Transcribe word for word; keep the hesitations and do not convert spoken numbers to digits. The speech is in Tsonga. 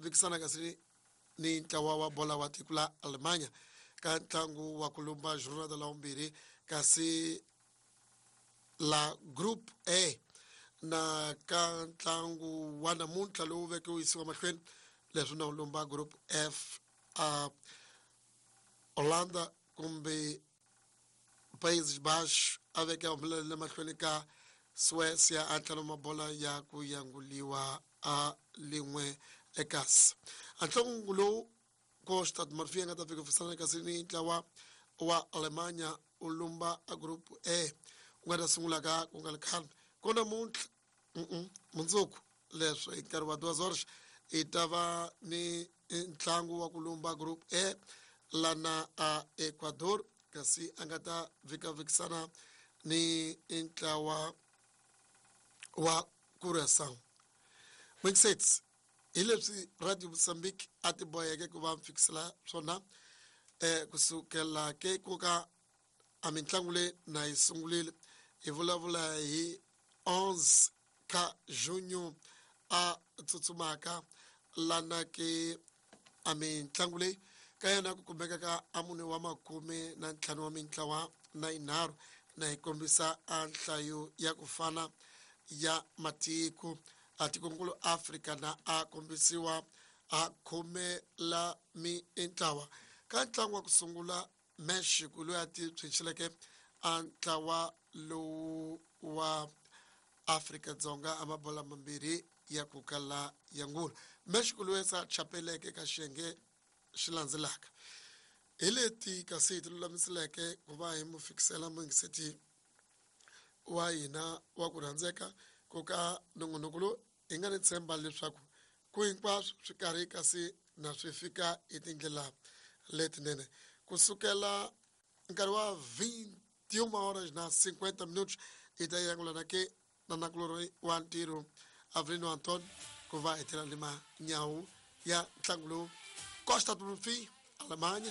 vikisana kasi ni ntlawa wa bola wa tiko la Alemanya ka ntlangu wa ku lumba jornada la vumbirhi kasi la Group A na ka ntlangu wa namuntlha lowu veke wu yisiwa mahlweni leswi na wu lumba Group F a Holanda kumbe Países Baixos a veke a humelela mahlweni ka Suécia a ntlhanu mabola ya ku yanguliwa a lin'we ekasi. A ntlangu lowu Costa do Marfim nga ta fika fisana kasi ni ntlawa wa Alemanya u lumba a Group A ku nga ta sungula ka ku nga ri khale ko namuntlha mundzuku leswi hi nkarhi wa duas horas hi ta va ni ntlangu wa ku lumba Group A lana a Ecuador kasi a nga ta vikavikisana ni ntlawa wa Curaçao. Mixets hi leswi Radio Mozambique a ti boheke ku va fikisela swona eh kusukela ke ku ka a mitlangu leyi na yi sungurile hi vulavula hi onze ka junho a tsutsumaka lana ke a mitlangu leyi ka yona ku kumeka ka a mune wa makume na ntlhanu wa mintlawa na yinharhu na hi kombisa a nhlayo ya ku fana ya matiko a tikonkulu Afrika na a kombisiwa a khume la mintlawa ka ntlangu wa ku sungula Mexico loyi a ti tshwinxeleke a ntlawa lowu wa Afrika-Dzonga a mabola mambirhi ya ku kala ya ngula Mexico loyi sa chapeleke ka xiyenge xi landzelaka hi leti kasi hi ti lulamiseleke ku va hi mu fikisela muyingiseti wa hina wa ku rhandzeka ku ka nongonoko lowu hi nga ni tshemba leswaku ku hinkwaswo swi karhi kasi na swi fika hi tindlela letinene kusukela nkarhi wa vinte e uma horas na cinquenta minutos hi ta yangulana ke na nakulorhi wa ntirho Avelino Antonio ku va hi tirha ni manyawu ya ntlangu lowu Costa do Marfim, Alemanha.